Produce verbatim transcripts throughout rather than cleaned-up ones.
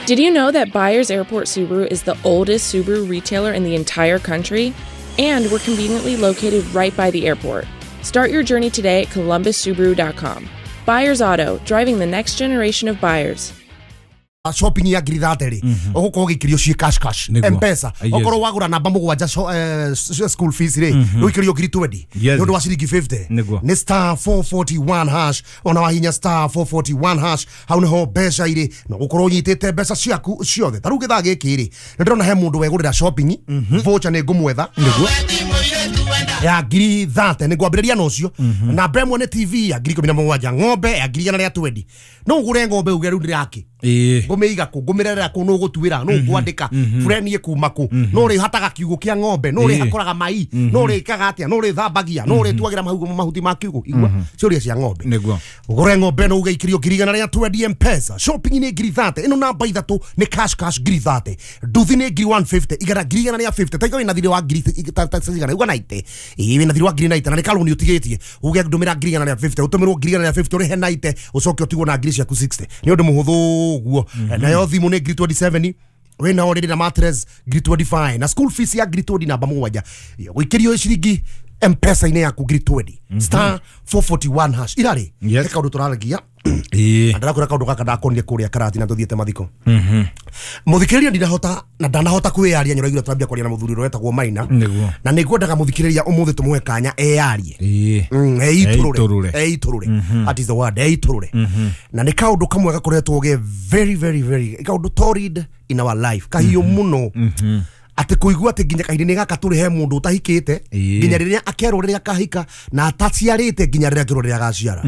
Did you know that Byers Airport Subaru is the oldest Subaru retailer in the entire country? And we're conveniently located right by the airport. Start your journey today at Columbus Subaru dot com. Byers Auto, driving the next generation of buyers. Shopping ya ngiri thate rĩ ũgũkorwo ũgĩikĩrio ciĩ cash cash M-Pesa okorwo wagũra namba mũgwanja school fees rĩ ũikĩrio ngiri twenty nĩ ũndũ wa ciringi fifty nĩ star four forty-one hash ona wahinya star four forty-one hash hau nĩho mbeca irĩ na ũgũkorwo ũnyitĩte mbeca ciaku ciothe. Ta rĩu gĩthaa gĩkĩ rĩ nĩ ndĩrona he mũndũ wegũrĩra shopping voucher nĩ ngũmwetha ya ngiri thate nĩ ngwambĩrĩria na ũcio namba ĩmwe nĩ T V ya ngiri ikũmi na mũgwanja ng'ombe ya ngiri igana rĩa twenty no ũgũre ng'ombe uge rĩu ndĩrake ngũmĩiga kũ ngũmĩrerera kũ nũ ũgũtuĩra nũ ũkwandĩka bureni ĩkuma kũ nũ ũrĩhataga kiugũ kĩa ng'ombe nũ ũrĩhakũraga mai nũ ũrĩkaga atĩa nũ ũrĩthambagia nũ ũrĩtuagĩra mahuti ma kiugũ igua ciũria cia ng'ombe ũgũre ng'ombe no uge ikĩrio ngiri igana rĩa twenty M-Pesa shopping nĩ ngiri thate ĩno namba ithatũ nĩ cash cash ngiri thate nduthi nĩ ngiri one fifty igana ngiri igana rĩa fifty taiga wĩna thirĩ wa ngiri cigana uga ninety ĩĩ wĩna thirĩ wa ngiri ninety na nĩ kalũni ũtigĩtie uge ndũmĩra ngiri igana rĩa fifty ũtũmĩrwo ngiri igana rĩa fifty ũrĩhe ninety ũcoke ũtigwo na ngiri ciaku sixty nĩ ũndũ mũhũthũ ũguo nayo thimũ nĩ ngiri twenty-seven wĩna orĩrĩ na mattress ngiri twenty-five na school fees ya ngiri twenty namba mũgwanja gũikĩrio ciringi M-Pesa-inĩ yaku ngiri twenty star four forty-one hash irarĩ nĩ kaũndũ tũraragia na ndĩrakwĩra kaũndũ gaka ndakonire kũrĩa Karatina tũthiĩte mathiko mũthikĩrĩria ndinahota na ndanahota kwĩyaria nyũraigua tũrambia kwaria na mũthuri ũrĩa wetagwo Maina na nĩngwendaga mũthikĩrĩria ũmũthĩ tũmũhe kanya eyarie eitũrũre eitũrũre that is the word eitũrũre na nĩ kaũndũ kamwe gakoretwo ge very very very kaũndũ torrid in our life kahiũ mũno atĩ kũigua atĩ nginya kahinda-inĩ gaka tũrĩ he mũndũ ũtahikĩte nginya rĩrĩa akerwo rĩrĩa akahika na ataciarĩte nginya rĩrĩa akerwo rĩrĩa agaciara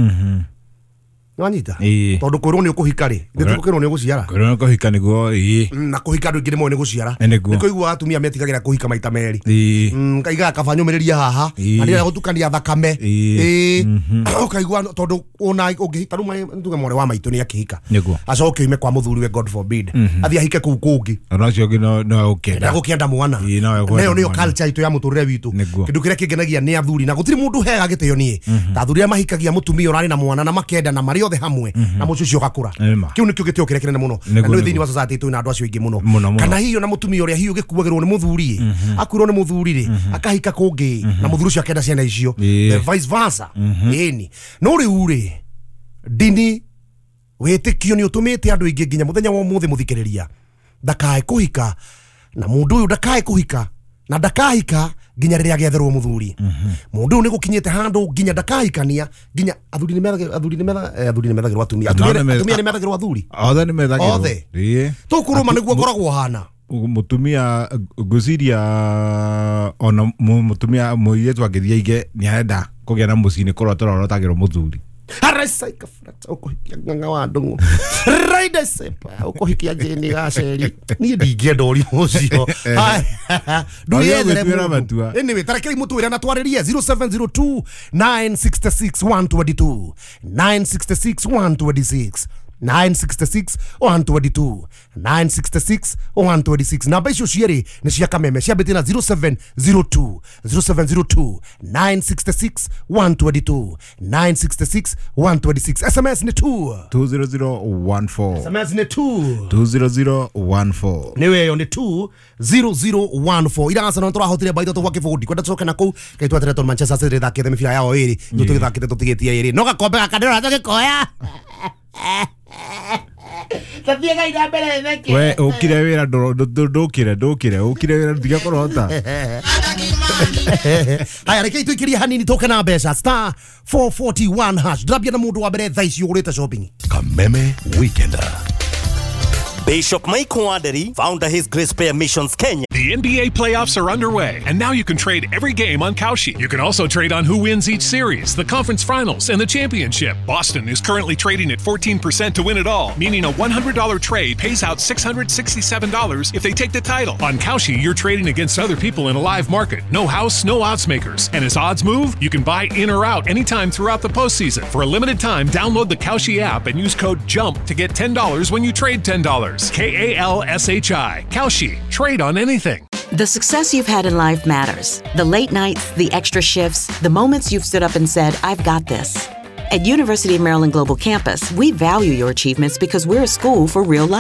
nĩwanyita tondũ kwĩrwo nĩ ũkũhika rĩ ithuĩ tũkwĩrwo nĩ ũgũciara kwĩrwo nĩ ũkũhika nĩguo ĩĩ na kũhika andũ aingĩ nĩmoĩ nĩ gũciara nĩ kũigua atumia metigagĩra kũhika maita merĩ kaigaga kaba nyũmĩrĩria haha na ndĩrenda gũtukania thakame ĩĩ ũkaigua tondũ ona ũngĩhika rĩu tuge mwarĩ wa maitũ nĩ akĩhika acoke oime kwa mũthuriwe God forbid athiĩ ahike kũu kũngĩ ona ũcio ũngĩ no egũkĩenda egũkĩenda mwana nayo nĩyo culture itũ ya mũtũrĩre witũ kĩndũ kĩrĩa kĩngenagia nĩ athuri na gũtirĩ mũndũ ũheaga gĩtĩo niĩ ta athuri arĩa mahikagia mũtumia ũrarĩ na mwana na makenda na marĩ othe hamwe na mũciĩ ũcio ũgakũra kĩu nĩkĩo gĩtĩo kĩrĩa kĩnene mũno na nĩ thĩinĩ wa society itũ na andũ acio aingĩ mũno kana hihi ona mũtumia ũrĩa hihi ũgĩkuagĩrwo nĩ mũthuri akuirwo nĩ mũthuri rĩ akahika kũngĩ na mũthuri ũcio akenda ciana icio the vice versa ĩni no rĩu rĩ ndini wĩtĩkio nĩ ũtũmĩte andũ aingĩ nginya mũthenya wa ũmũthĩ mũthikĩrĩria ndakae kũhika na mũndũ ũyũ ndakae kũhika na ndakahika nginya rĩrĩa agetherwo mũthuri mũndũ ũyũ nĩ gũkinyĩte handũ nginya ndakahikania nginya athuri nĩ methagĩrwo athuri nĩ athuri nĩ methagĩrwo atumia atumia nĩ methagĩrwo athuri othe nĩ methagĩrwo othe tũkũrũma nĩguo ngoragwo hana mũtumia ngwĩciria ona mũtumia mũirĩtu angĩthiĩ aige nĩ arenda kũgĩa na mũciĩ nĩ kũrota ũrorotagĩrwo mũthuri Harasaika frata ũkũhikia ng'ang'a wa ndũng'ũ raida sepa ũkũhikia Jane Gaceri niĩ ndingĩenda ũrimũ ũcio ndũyethere mũndũ anyway tarekei mũtwĩre na twarĩrie zero seven zero two nine six six one two two nine six six one two six nine six six one two two nine six six one two six namba icio cierĩ nĩ cia Kameme ciambĩtie na zero seven zero two zero seven zero two nine six six one two two nine six six one two six S M S nĩ two two zero zero one four S M S nĩ two two zero zero one four nĩ weyo nĩ two zero zero one four ira Arsenal tũrahotire mbaũ ithatũ gwa kĩbũndi kwenda tũcoke na kũu kaĩ tweteretwo Manchester City ĩthakĩte mĩbira yao ĩrĩ ithuĩ tũgĩthakĩte tũtigĩtie ĩrĩ no gakombe gaka ndĩrona tũgĩkoya we ukire wira ndukire ndukire ukire wira ndiga kũrota haya reke tuikirie hanini tũke na mbeca star four forty-one hash ndambia na mũndũ wa mbere thaa ici ũgũrĩte shopping Kameme Weekender. Bishop Mike Wanderi, founder His Grace Prayer Missions Kenya. The N B A playoffs are underway, and now you can trade every game on Kalshi. You can also trade on who wins each series, the conference finals, and the championship. Boston is currently trading at fourteen percent to win it all, meaning a one hundred dollar trade pays out six hundred sixty-seven dollars if they take the title. On Kalshi, you're trading against other people in a live market. No house, no odds makers. And as odds move, you can buy in or out anytime throughout the postseason. For a limited time, download the Kalshi app and use code JUMP to get ten dollars when you trade ten dollars. K A L S H I. Kalshi. Trade on anything. The success you've had in life matters. The late nights, the extra shifts, the moments you've stood up and said, I've got this. At University of Maryland Global Campus, we value your achievements because we're a school for real life.